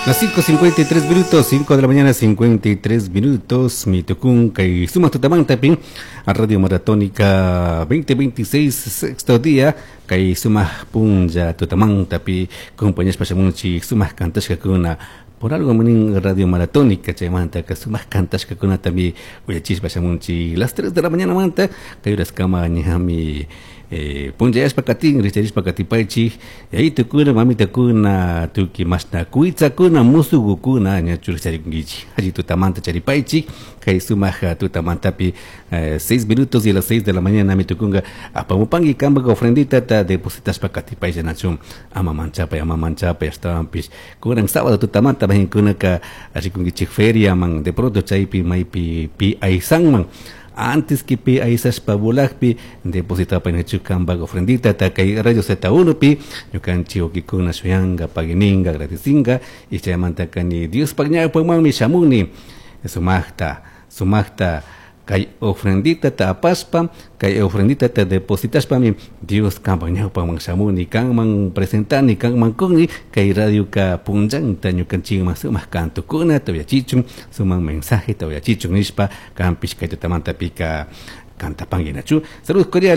Las 5.53 minutos, 5 de la mañana, 53 minutos, mi tucun, kay suma tutamanta a Radio Maratónica 2026, sexto día, kay suma punlla tutamantapi, compañías pashamunchi, suma kantashkakuna, por algo manin Radio Maratónica, chaymanta, ka suma kantashkakunatami, uyachispa shamunchi, las 3 de la mañana manta, kay kama ñami, punllayashpa katin richarishpa katipaychik yayitukuna mamitakuna tukuy mashna kuytsakuna musugukuna ñachu richarikunkichik alli tutamanta charipaychik kay sumak tutamantapi 6 minutos y las 6 de la mañana mi tukunga apamupanki kampak ofrenditata depositashpa katipayllanachu ama manchapay, ama manchapay. Ashtawanpish kunan sábado tutamanta mahinkunaka rikunkichik feriaman, de pronto chaypi maypi pi aysanman. Antes que pi aysashpa volakpi depositapay kampak ofrendita kay Radio Z1 pi. Ñukanchik wawkikuna shuyanka, paguininga, agradeciga y chaymanta kani Diospaq ñawpamanmi shamuni sumakta sumakta kay ofrendita ta apashpa, kay ofrendita ta depositashpami Dios kampak ñawpaman shamuni, kanman presentani, kanman kuni kay radioka punllanta ñukanchikman sumak kantukuna uyachichun, sumak mensaje uyachichun nishpa kanpish kay tutamantapika cantapanguinachu. Saludos cordiales.